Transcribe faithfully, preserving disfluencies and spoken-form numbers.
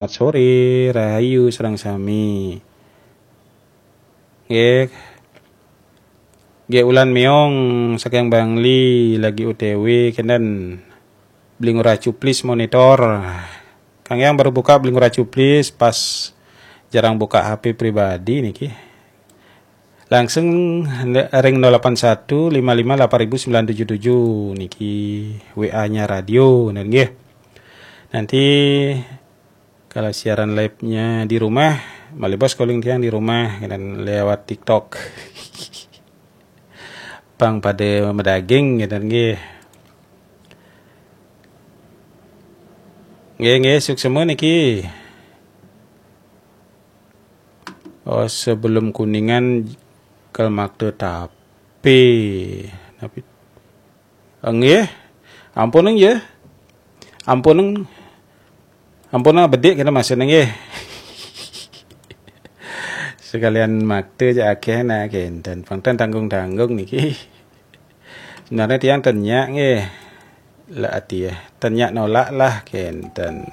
Selamat sore, rahayu sareng sami. Nggih. Nggih, ulan meong saking Bangli lagi O T W kenten. Beli Ngurah Cuplis monitor. Kang Yang baru buka Beli Ngurah Cuplis, pas jarang buka H P pribadi niki. Langsung ring nol delapan satu lima lima delapan ribu sembilan tujuh tujuh niki W A-nya radio, bener nggih. Nanti kalau siaran live-nya di rumah, malih bos calling tiang di rumah dan lewat TikTok. Pang pada medaging gitu nggih. Nggih, nggih, suksema niki. Oh, sebelum Kuningan kal makta tapi. Tapi nggih. Ampun nggih. Ampun. Ampun bedik kita masuk nggih. Sekalian makta aja akeh nah kenten. Pang ten tanggung-tanggung niki. Sebenarnya tiang ten nyak nggih. Lah ati ya. Ten nyak nolak lah kenten.